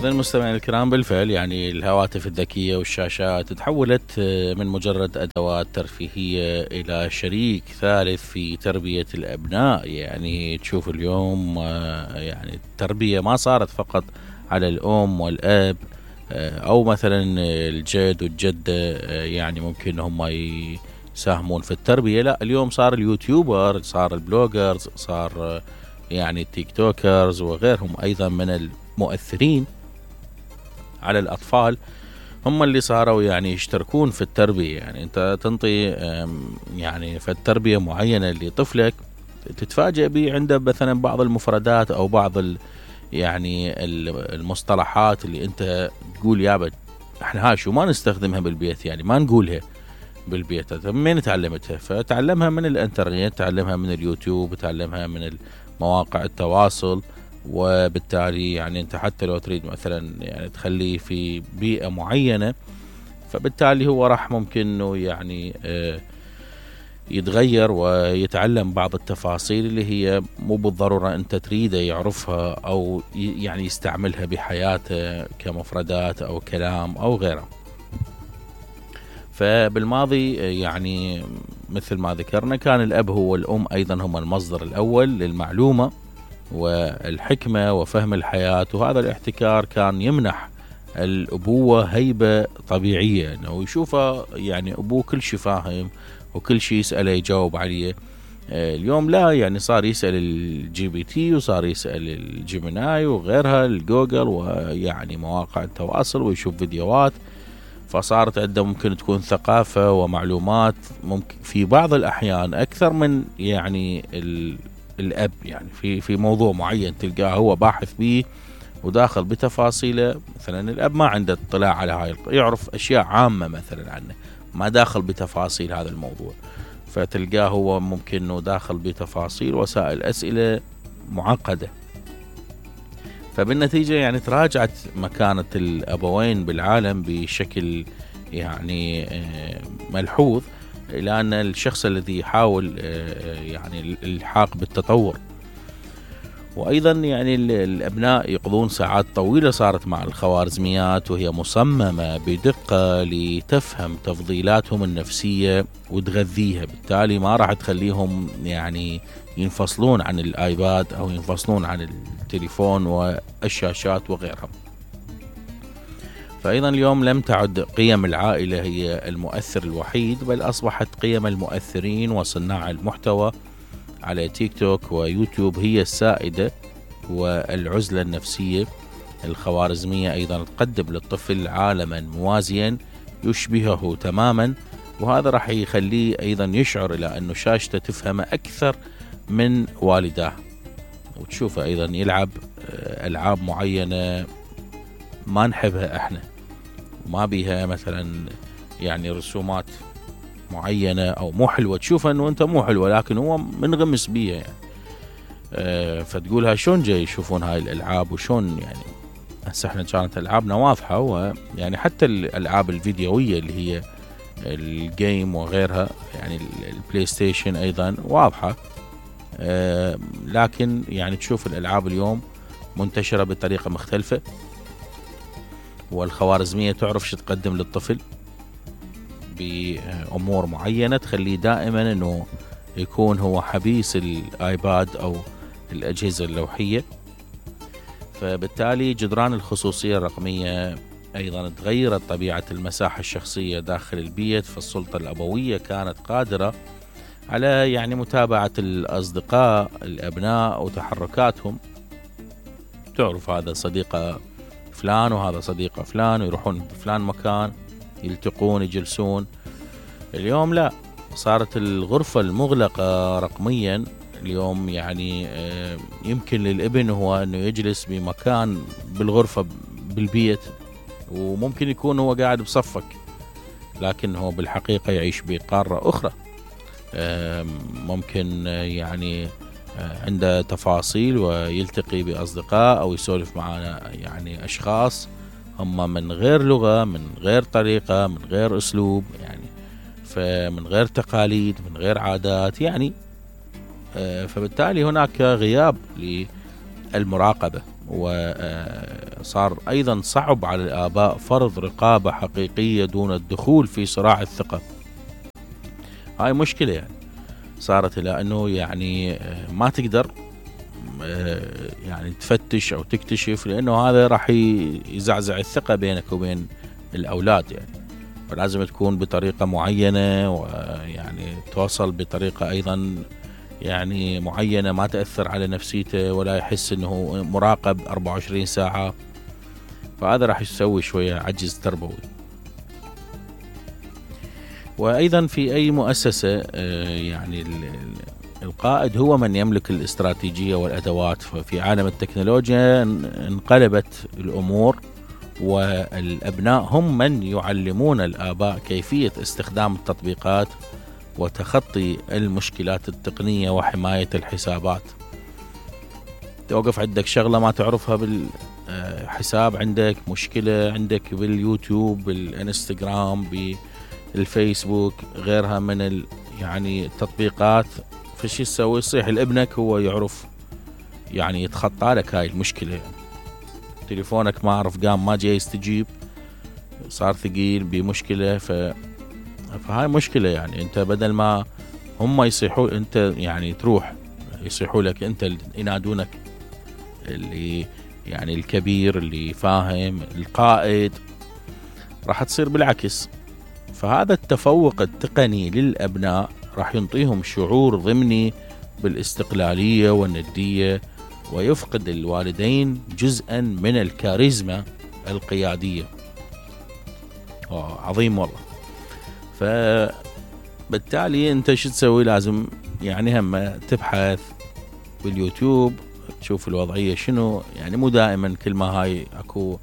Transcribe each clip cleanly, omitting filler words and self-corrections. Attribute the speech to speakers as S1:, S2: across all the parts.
S1: إذا المستمعين الكرام، بالفعل يعني الهواتف الذكية والشاشات تحولت من مجرد أدوات ترفيهية إلى شريك ثالث في تربية الأبناء. يعني تشوف اليوم يعني التربية ما صارت فقط على الأم والأب أو مثلا الجد والجدة، يعني ممكن هم يساهمون في التربية. لا، اليوم صار اليوتيوبر، صار البلوجرز، صار يعني التيك توكرز وغيرهم أيضا من المؤثرين على الأطفال، هم اللي صاروا يعني يشتركون في التربية. يعني أنت تنطي يعني في التربية معينة لطفلك، تتفاجأ به عنده مثلا بعض المفردات أو بعض يعني المصطلحات اللي أنت تقول يابا احنا هاي شو ما نستخدمها بالبيت، يعني ما نقولها بالبيت. من تعلمتها؟ فتعلمها من الانترنت، تعلمها من اليوتيوب، تعلمها من مواقع التواصل. وبالتالي يعني انت حتى لو تريد مثلا يعني تخليه في بيئة معينة، فبالتالي هو راح ممكن انه يعني يتغير ويتعلم بعض التفاصيل اللي هي مو بالضرورة انت تريده يعرفها او يعني يستعملها بحياته كمفردات او كلام او غيره. فبالماضي يعني مثل ما ذكرنا كان الأب هو والأم أيضا هم المصدر الأول للمعلومة والحكمة وفهم الحياة، وهذا الاحتكار كان يمنح الأبوة هيبة طبيعية، أنه يشوفه يعني أبوه كل شيء فاهم وكل شيء يسأله يجاوب عليه. اليوم لا، يعني صار يسأل الجي بي تي، وصار يسأل الجيميناي وغيرها الجوجل ويعني مواقع التواصل، ويشوف فيديوهات. فصارت عنده ممكن تكون ثقافة ومعلومات ممكن في بعض الأحيان أكثر من يعني الأب. يعني في موضوع معين تلقاه هو باحث به وداخل بتفاصيله، مثلا الأب ما عنده اطلاع على هاي يعرف أشياء عامة مثلا عنه، ما داخل بتفاصيل هذا الموضوع. فتلقاه هو ممكن أنه داخل بتفاصيل وسائل أسئلة معقدة. فبالنتيجة يعني تراجعت مكانة الأبوين بالعالم بشكل يعني ملحوظ، إلى أن الشخص الذي يحاول يعني الإلحاق بالتطور. وأيضا يعني الأبناء يقضون ساعات طويلة صارت مع الخوارزميات، وهي مصممة بدقة لتفهم تفضيلاتهم النفسية وتغذيها. بالتالي ما راح تخليهم يعني ينفصلون عن الآيباد أو ينفصلون عن التليفون والشاشات وغيرها. فأيضا اليوم لم تعد قيم العائلة هي المؤثر الوحيد، بل أصبحت قيم المؤثرين وصناع المحتوى على تيك توك ويوتيوب هي السائدة. والعزلة النفسية الخوارزمية أيضا تقدم للطفل عالما موازيا يشبهه تماما، وهذا راح يخليه أيضا يشعر إلى أنه شاشته تفهم أكثر من والداه. وتشوفه أيضا يلعب ألعاب معينة ما نحبها احنا، وما بيها مثلا يعني رسومات معينة أو مو حلوة، تشوفها أنه أنت مو حلوة لكن هو منغمس بيها يعني. فتقولها شون جاي يشوفون هاي الألعاب وشون يعني. هسه احنا كانت ألعابنا واضحة، ويعني حتى الألعاب الفيديوية اللي هي الجيم وغيرها، يعني البلاي ستيشن أيضا واضحة. لكن يعني تشوف الألعاب اليوم منتشرة بطريقة مختلفة، والخوارزمية تعرف شو تقدم للطفل بأمور معينة تخليه دائما أنه يكون هو حبيس الآيباد أو الأجهزة اللوحية. فبالتالي جدران الخصوصية الرقمية أيضا تغيرت طبيعة المساحة الشخصية داخل البيت. فالسلطة الأبوية كانت قادرة على يعني متابعة الأصدقاء الأبناء وتحركاتهم، تعرف هذا صديق فلان وهذا صديق فلان، ويروحون بفلان مكان يلتقون يجلسون. اليوم لا، صارت الغرفة المغلقة رقميا اليوم يعني يمكن للابن هو أنه يجلس بمكان بالغرفة بالبيت، وممكن يكون هو قاعد بصفك لكن هو بالحقيقة يعيش بقارة أخرى. ممكن يعني عنده تفاصيل ويلتقي بأصدقاء أو يسولف معنا يعني أشخاص هم من غير لغة، من غير طريقة، من غير أسلوب، يعني فمن غير تقاليد، من غير عادات يعني. فبالتالي هناك غياب للمراقبة، وصار صار أيضا صعب على الآباء فرض رقابة حقيقية دون الدخول في صراع الثقة. هاي مشكلة يعني صارت، إلى أنه يعني ما تقدر يعني تفتش أو تكتشف، لأنه هذا راح يزعزع الثقة بينك وبين الأولاد يعني. فلازم تكون بطريقة معينة، ويعني توصل بطريقة أيضا يعني معينة ما تأثر على نفسيته ولا يحس أنه مراقب 24 ساعة. فهذا راح يسوي شوية عجز تربوي. وأيضا في أي مؤسسة يعني القائد هو من يملك الاستراتيجية والأدوات. ففي عالم التكنولوجيا انقلبت الأمور، والأبناء هم من يعلمون الآباء كيفية استخدام التطبيقات وتخطي المشكلات التقنية وحماية الحسابات. توقف عندك شغلة ما تعرفها بالحساب، عندك مشكلة عندك باليوتيوب، بالانستغرام، بالفيسبوك، غيرها من يعني التطبيقات. فشي تسوي؟ صيح لابنك هو يعرف يعني يتخطى لك هاي المشكلة يعني. تليفونك ما عرف قام ما جاي يستجيب، صار ثقيل بمشكلة. فهاي مشكلة يعني. انت بدل ما هم يصيحوا انت يعني تروح يصيحوا لك انت، ينادونك اللي يعني الكبير اللي فاهم القائد، راح تصير بالعكس. فهذا التفوق التقني للأبناء راح ينطيهم شعور ضمني بالاستقلالية والندية، ويفقد الوالدين جزءا من الكاريزما القيادية. عظيم والله. فبالتالي انت شو تسوي؟ لازم يعني هم تبحث باليوتيوب تشوف الوضعية شنو يعني. مو دائما كل ما هاي اكو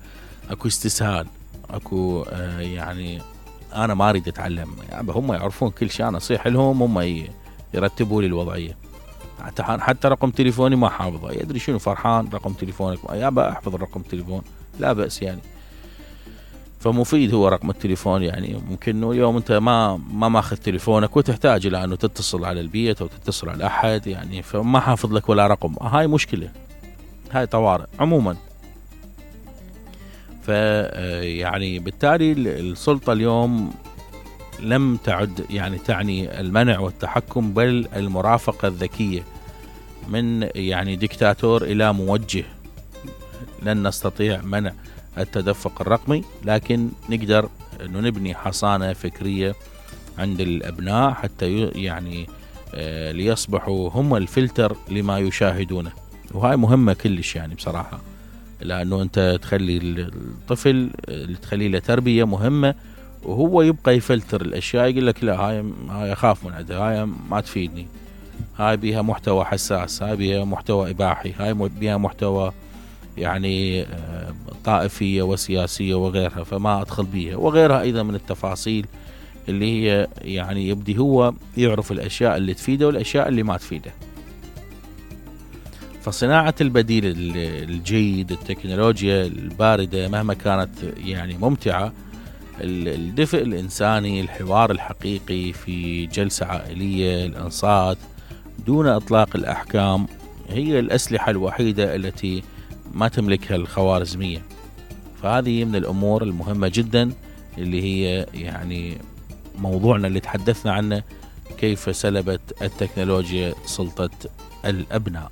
S1: استسهال، اكو يعني انا ما اريد اتعلم يعني. هم يعرفون كل شيء، انا اصيح لهم هم يرتبوا لي الوضعية. حتى رقم تليفوني ما حافظه، يدري شنو فرحان رقم تليفونك يابا احفظ الرقم تليفون، لا بأس يعني. فمفيد هو رقم التليفون يعني. ممكن انه اليوم انت ما ماخذ تليفونك وتحتاج الى انه تتصل على البيت او تتصل على احد يعني، فما حافظ لك ولا رقم. هاي مشكلة، هاي طوارئ عموما. يعني بالتالي السلطة اليوم لم تعد يعني تعني المنع والتحكم، بل المرافقة الذكية من يعني ديكتاتور إلى موجه. لن نستطيع منع التدفق الرقمي، لكن نقدر أنه نبني حصانة فكرية عند الأبناء حتى يعني ليصبحوا هم الفلتر لما يشاهدونه. وهاي مهمة كلش يعني بصراحة، لأنه أنت تخلي الطفل تخلي له تربية مهمة، وهو يبقى يفلتر الأشياء. يقول لك لا هاي أخاف من عندها، هاي ما تفيدني، هاي بيها محتوى حساس، هاي بيها محتوى إباحي، هاي بيها محتوى يعني طائفية وسياسية وغيرها، فما أدخل بيها. وغيرها أيضا من التفاصيل اللي هي يعني يبدي هو يعرف الأشياء اللي تفيده والأشياء اللي ما تفيده. فصناعة البديل الجيد، التكنولوجيا الباردة مهما كانت يعني ممتعة، الدفء الإنساني، الحوار الحقيقي في جلسة عائلية، الإنصات دون إطلاق الأحكام، هي الأسلحة الوحيدة التي ما تملكها الخوارزمية. فهذه من الأمور المهمة جدا اللي هي يعني موضوعنا اللي تحدثنا عنه، كيف سلبت التكنولوجيا سلطة الأبناء.